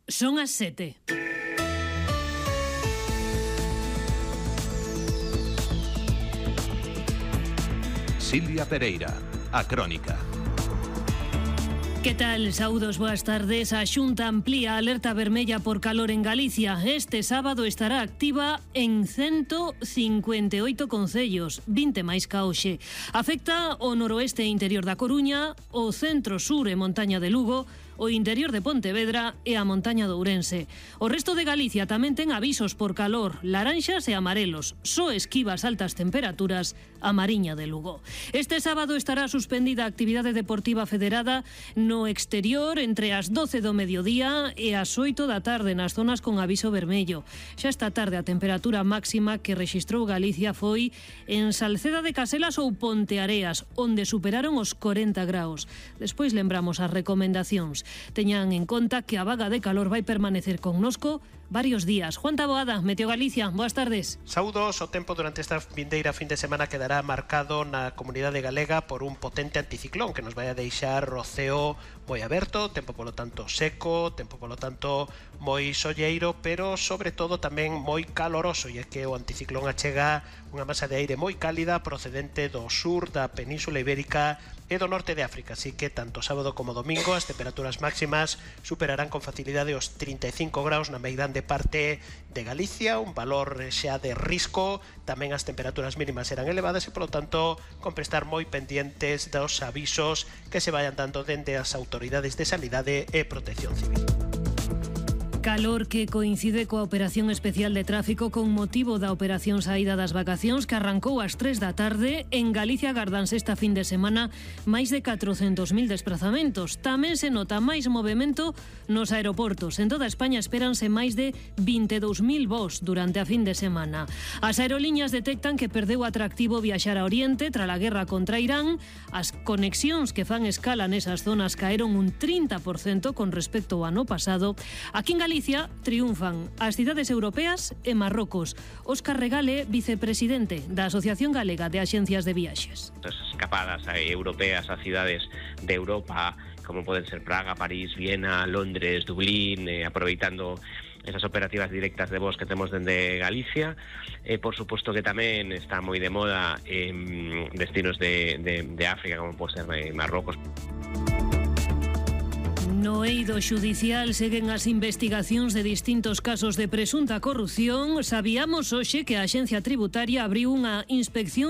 Son as 7. Silvia Pereira, a Crónica. Que tal? Saúdos, boas tardes. A Xunta amplía a alerta vermella por calor en Galicia. Este sábado estará activa en 158 concellos, 20 máis ca hoxe. Afecta o noroeste e interior da Coruña, o centro-sur e montaña de Lugo, o interior de Pontevedra e a montaña de Ourense. O resto de Galicia tamén ten avisos por calor, laranxas e amarelos. Só esquiva as altas temperaturas a Mariña de Lugo. Este sábado estará suspendida a actividade deportiva federada no exterior entre as 12 do mediodía e as 8 da tarde nas zonas con aviso vermello. Xa esta tarde a temperatura máxima que rexistrou Galicia foi en Salceda de Caselas ou Ponteareas, onde superaron os 40 graus. Despois lembramos as recomendacións. Teñan en conta que a vaga de calor vai permanecer connosco varios días. Juan Taboada, Meteo Galicia, boas tardes. Saúdos, o tempo durante esta vindeira fin de semana quedará marcado na comunidade galega por un potente anticiclón que nos vai a deixar o ceo moi aberto, tempo polo tanto seco, tempo polo tanto moi solleiro, pero sobre todo tamén moi caloroso, e é que o anticiclón achega unha masa de aire moi cálida procedente do sur da Península Ibérica e do norte de África, así que tanto sábado como domingo as temperaturas máximas superarán con facilidade os 35 graus na meirande parte de Galicia, un valor xa de risco. Tamén as temperaturas mínimas serán elevadas e, polo tanto, con prestar moi pendientes dos avisos que se vayan dando dende as autoridades de Sanidade e Protección Civil. Calor que coincide coa operación especial de tráfico con motivo da operación saída das vacacións que arrancou ás 3 da tarde. En Galicia gardanse esta fin de semana máis de 400.000 desplazamentos. Tamén se nota máis movimento nos aeroportos. En toda España espéranse máis de 22.000 voos durante a fin de semana. As aerolíneas detectan que perdeu atractivo viaxar a Oriente tras a guerra contra Irán. As conexións que fan escala nesas zonas caeron un 30% con respecto ao ano pasado. Aquí en Galicia triunfan as cidades europeas e Marrocos. Óscar Regale, vicepresidente da Asociación Galega de Axencias de Viaxes. As escapadas europeas a cidades de Europa, como poden ser Praga, París, Viena, Londres, Dublín, aproveitando esas operativas directas de voos que temos dende Galicia. Por suposto que tamén está moi de moda destinos de África, como pode ser Marrocos. No eido xudicial seguen as investigacións de distintos casos de presunta corrupción. Sabíamos hoxe que a Axencia Tributaria abriu unha inspección